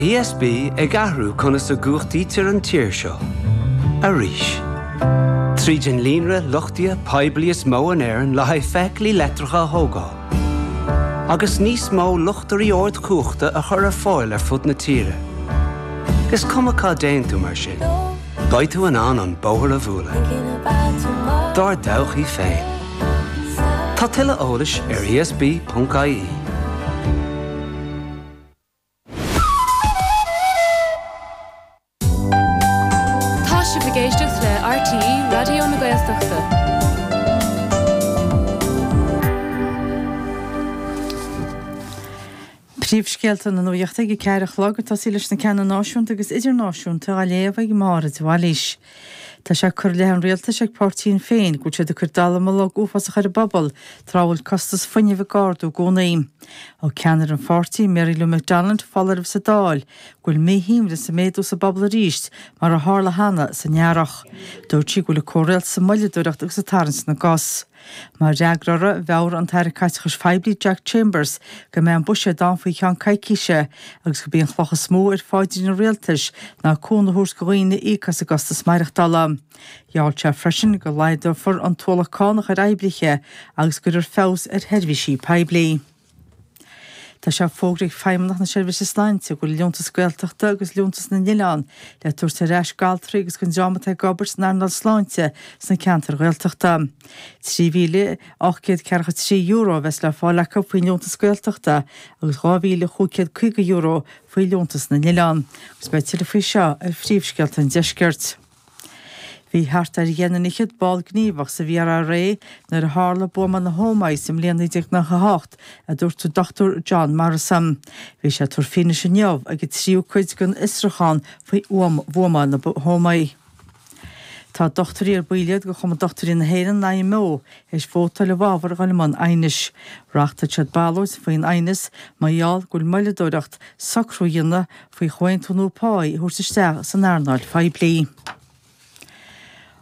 ESB ag athrú conas a gcumhachtaítear an tír seo. Arís. Tríd an líonra luchtaithe poiblí is mó in Éirinn le haghaidh feithiclí leictreacha a thógáil. Agus níos mó luchtairí ardchumhachta a chur ar fáil ar fud na tíre. Is cuma cá dtéann tú mar sin, beidh tú in ann an bóthar a bhualadh. Dár dtodhchaí féin. Tá tuilleadh eolais ar esb.ie. Tá sibh ag éisteacht le RTÉ Raidió na Gaeltachta. Príomhscéalta na Nuachta ag a 4 a chlog, ag tosaí leis na ceanna náisiúnta agus idirnáisiúnta á léamh ag Máire de Bhailís. Tá sé curtha i leith an rialtais ag páirtí Shinn Féin go bhfuil siad ag cur dallamullóg uafásach ar an bpobal tráth a bhfuil costas fuinnimh ag ardú i gcónaí. Thug ceannaire an pháirtí, Mary Lou McDonald, foláireamh sa Dáil go bhfuil míthuiscint ag méadú sa bpobal arís mar a tharla cheana san earrach. Dúirt sí go bhfuil an comhrialtas ag moilleadóireacht agus ag tarraingt na gcos. Mar fhreagra orthu, mheabhraigh an tAire Caiteachais Phoiblí Jack Chambers go mbeidh an buiséad ann faoi cheann coicíse agus gurb í an chloch is mó ar phaidrín an rialtais ná cúnamh a thabhairt do dhaoine íoc as a gcostas maireachtála. Gheall sé freisin go laghdófar an t-ualach cánach ar oibrithe agus go gcuirfear feabhas ar sheirbhísí poiblí. Tá sé fógraithe ag Feidhmeannacht na Seirbhíse Sláinte go bhfuil Liúntas Gaeltachta agus Liúntas na nOileán le tabhairt ar ais d'altraí agus don dream atá ag obair san earnáil sláinte sna ceantair Ghaeltachta. €3,843 a bheas le fáil acu faoin Liúntas Gaeltachta agus €2,550 faoi Liúntas na nOileán. Agus beidh tuilleadh faoi seo ar Phríomhscéalta an Deiscirt. Bhí thart ar dheich nduine fhichead ball gníomhach sa VRRA nuair a tharla buamáil na hÓmaí sa mbliain 1998, a dúirt an Dr John Morrison. Bhí sé ag tabhairt fianaise inniu ag an tríú cuid den fhiosrúchán faoi bhuamáil na hÓmaí. Tá dochtúirí ar baill iad de Chumann Dochtúirí na hÉireann, an IMO, théis vótáil i bhfabhar a dhul i mbun aighnis. Reáchtáil siad ballóid faoin aighneas mar gheall go bhfuil moilleadóireacht socrú a dhéanamh faoi chomhaontú nua páí a thabhairt isteach san earnáil phoiblí.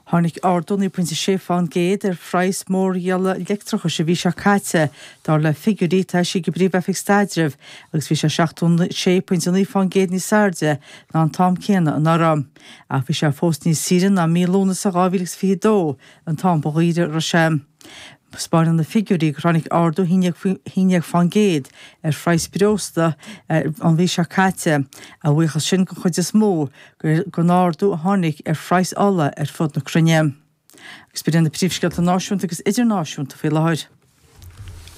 Tháinig ardú 9.6% ar phraghas mórdhíola leictreachais an mhí seo caite, dar le figiúirí atá eisithe ag an bPríomh-Oifig Staidrimh, agus bhí sé 76.9% níos airde ná an t-am céanna anuraidh. Ach bhí sé fós níos saoire ná mí Lúnasa 2022, an t-am ba dhaoire a raibh sé. Taispeánann na figiúirí gur tháinig ardú 11% ar phraghas breosla an mhí seo caite, a bhuíochas sin den chuid is mó don ardú a tháinig ar phraghas ola ar fud na cruinne. Agus b'in iad na príomhscéalta náisiúnta agus idirnáisiúnta faoi láthair.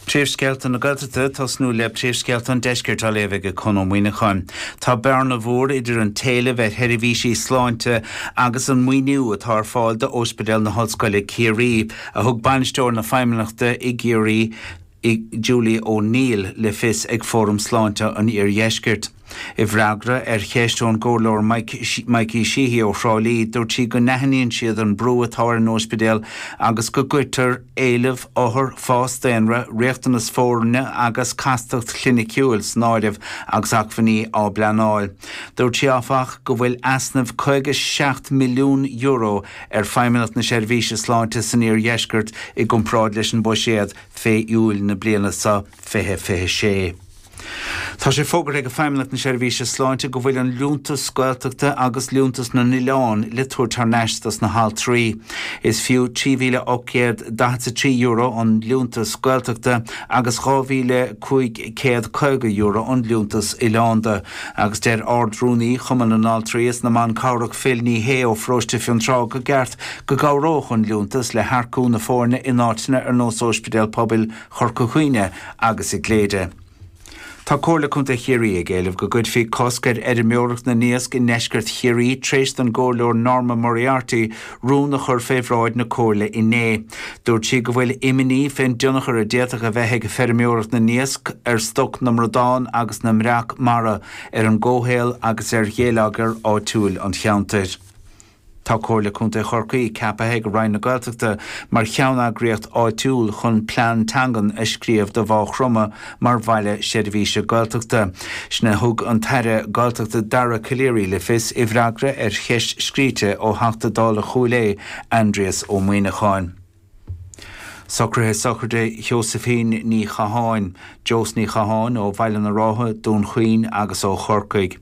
Príomhscéalta na Gaeltachta, tosnú le príomhscéalta an Deiscirt á léamh ag Conn Ó Muíneacháin. Tá bearna mhór idir an t-éileamh ar sheirbhísí sláinte agus an maoiniú atá ar fáil d'Ospidéal na hOllscoile Ciarraí, a thug bainisteoir na Feidhmeannachta i gCiarraí, Julie O'Neill, le fios ag Fóram Sláinte an Iardheiscirt. I bhfreagra ar cheist ón gComhairleoir Mikey Sheehy ó Thrá Lí, dúirt sí go n-aithníonn siad an brú atá ar an óispidéal agus go gcuirtear éileamh othar, fás daonra, riachtanas foirne agus castacht chliniciúil san áireamh agus acmhainní á bpleanáil. Dúirt sí, áfach, go bhfuil easnamh €57 milliún ar Feidhmeannacht na Seirbhíse Sláinte san Iardheisceart i gcomparáid leis an bhuiséad fé Iúil na bliana seo 2026. Tá sé fógartha ag Feidhmeannacht na Seirbhíse Sláinte go bhfuil an Liúntas Gaeltachta agus Liúntas na nOileán le tabhairt thar n-ais dos na haltraí. Is fiú €3,843 an Liúntas Gaeltachta agus €2,550 an Liúntas Oileánda. Agus deir Ard-Rúnaí Chumann na nAltraí is na mBan Cabhrach Phil Ní Sheaghdha ó Pharóiste Fionntrá go gceart go gcabhródh an liúntas le hearcú na foirne in áiteanna ar nós Óispidéal Pobail Chorca Dhuibhne agus i gCléire. Tá Comhairle Contae Chiarraí ag éileamh go gcuirfí cosc ar fheirmeoireacht na n-iasc i ndeisceart Chiarraí tréis don gComhairleoir Norma Moriarty rún a chur fé bhráid na Comhairle inné. Dúirt sí go bhfuil imní fén dtionchar a d'fhéadfadh a bheith ag feirmeoireacht na n-iasc ar stoc na mbradán agus na mbreac mara, ar an gcomhshaol agus ar gheilleagar áitiúil an cheantair. Tá Comhairle Contae Chorcaí ceaptha ag Roinn na Gaeltachta mar cheanneagraíocht áitiúil chun plean teangan a scríobh do Mhaigh Chromtha mar bhaile seirbhíse Gaeltachta. Sin a thug an tAire Gaeltachta Dara Calleary le fios i bhfreagra ar cheist scríte ó Theachta Dála Chúil Aodha, Aindrias Ó Muíneacháin. Socruithe sochraide Sheosaimhín Ní Chatháin, Jós Ní Chatháin, ó Bhaile na Rátha, Dún Chaoin agus ó Chorcaigh.